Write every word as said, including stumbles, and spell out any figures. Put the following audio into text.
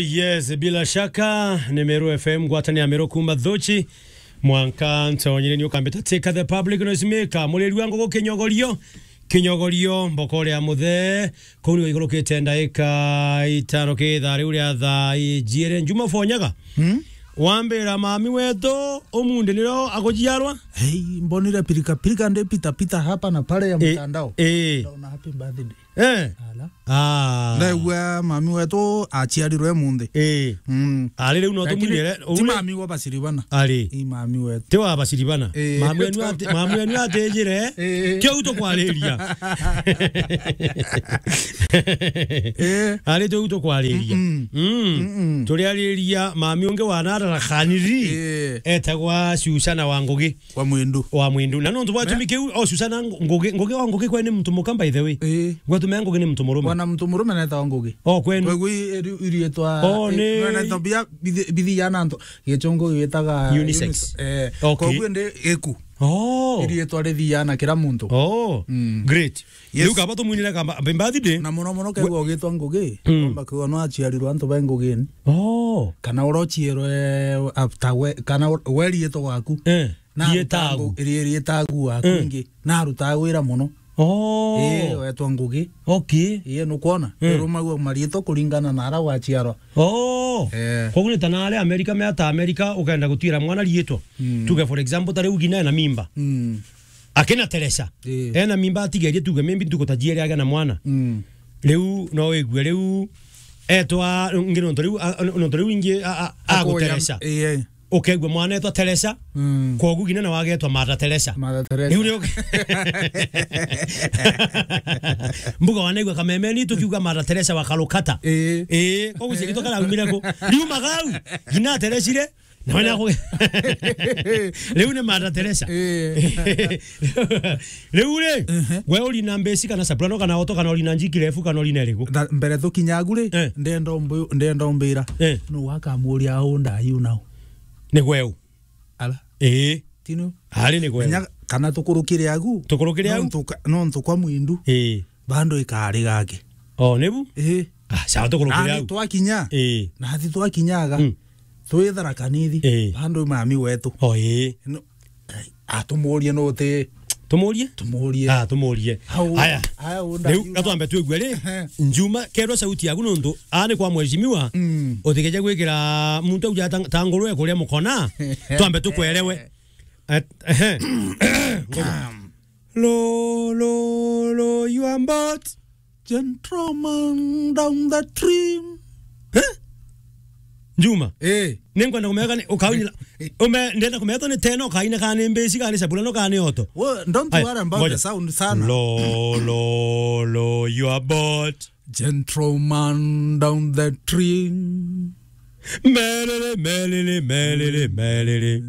Yes, bila shaka, ni Meru F M, ngwatanio ya Meru kuma Thuchi. Mwanka ntonyire ni ukambita Teka the Public Noise Maker, muriri wa ngugi kinyogorio, kinyogorio, mbokore ya muthe, kuu ni igurukite ndaika itano ki ithaa riu ria thaa ijiere. Njuma Fonyaga. Hmm? Wambira mami wetu, umunthi nirio agujiarwa? Hey, mbonire pirika pirika ndi pita pita hapa na pale ya Eh, mtandao. Eh. Ndaona happy birthday. Eh. Ala. Ah. Ndaigua mami wetu aciarirwe munthi. Eh. Mm. Ari riu no Lakini tumunyere, ti ure- mami wa Basiribana. Ari. I mami wetu. Ti wa Basiribana. Eh. Mami wenu ati-, mami wenu atijire. Eh. Ti u tukwariria. Eh. Ari ti u tukwariria. Mm-mm. Mm. Mm-mm. Turiariria mami ungi wa Nadara Khaniri. Eh. Etagwa Susana wa Ngugi. Wa Mwindu. Wa Mwindu. Na nontu bwatumi Me- kiu, o Susana Ngu-, Ngugi, Ngugi wa Ngugi kwenu ni mtu muka, by the way. Ii. Gwatumi Ngugi ni mtu murume. Wana mtu murume netawa Ngugi. O kwenu. Kwegui iri-, irietwa, O, eh, ni netawa bia bithi-, bithi ya nanto. Gichungu gitaga Unisex. Unis-, eh, Okay. Kwegui ndi giku. Oh. Irietwa rithiana kira muntu. Oh. Mm. Great. Yes. Riu kaba tumwinire kamba, happy birthday. Na muno muno kegwa ugitwa Ngugi, Mm. Omba kwigwa no aciarirwe antu ba Ngugini. Oh. Kana urociirwe after we, kana u-, we riitwa gwaku. Eh. Na Rietagu. aruta ngu-, ri-, rietagu waku Eh. ingi. Na arutaga wira muno. Oh. Ii, wetwa Ngugi. Okay. Ii, nukwona? Eh. Irumagua mariitwa kuringana na ara waciarwa. Oh. Eh. Koguo ni ta na aria Amerika, meata Amerika, ukenda gutwira mwana riitwa. Mm. Tuge for example, ta riu ngina ena mimba. Mm. Akina Teresa. Ii. Ena mimba atigerie tuge maybe ntuku ta jieri agea na mwana. Mm. Riu no wigue riu etwa ngi nontu riu, a, nontu riu ingi a, a, Akoya, aguteresa. Ii. Ukegua mwana etwa Teresa. Mm. Koguo ngina na wagetwa Mother Teresa. Mother Teresa. Riu ni uke-, mbuga wanaigua kamemeni tukiuga Mother Teresa wa Calcutta. Ii. Ii, koguo ciagitwa karaumire ku. Riu magau, ngina ateresire, Na wena ku-, riu ni Mother Teresa. Eh. Riu ri, Ehe. we urina mbeci kana soprano kana alto kana urina njiki refu kana urina iriku? Tha-, mbere tukinyagu ri, Eh. ndenda umbi-, ndenda umbira. Eh. Nu wakamuria au ndayu nau? Ni gweu. Ala. Ii. Tinu. Ari ni gweu. Nya-, kana tukurukire agu. Tukurukire agu? Nontu ka-, nontu kwa Mwindu. Ii. Bando ikari gake. O, nibu? Ii. Ah, sawa, tukurukire Na au. Twakinya. Ii. Na athi twakinyaga. Mm. Twithara kanithi. Ii. Bando mami wetu. O, ii. No, ai, atumurie no ti. Tumurie? Tumurie. Ah, tumurie. Hau, Haya. haya, unda Riu, yu- na twambe twigue ri, Ehe. Njuma, kerwa sauti yaku nontu, aa ni kwa mheshimiwa, Mm. utikeje gwikira muntu auja ta-, ta ngurwe kuria mukona, twambe tukwerewe. Et-, ehe. Lo, lo, lo, you are both gentleman down the stream. Eh? Juma. Eh. Ninkwenda kumenya kana ukaunyira, ume, ndenda kumenya to ni tena ukaina kana ni mbeci, kana ni sabulano, kana ni oto. Well, don't Aya, worry about ngoja. the sound sana. Lo, lo, lo, you are both gentleman down the stream. Melele, melele, melele, melele.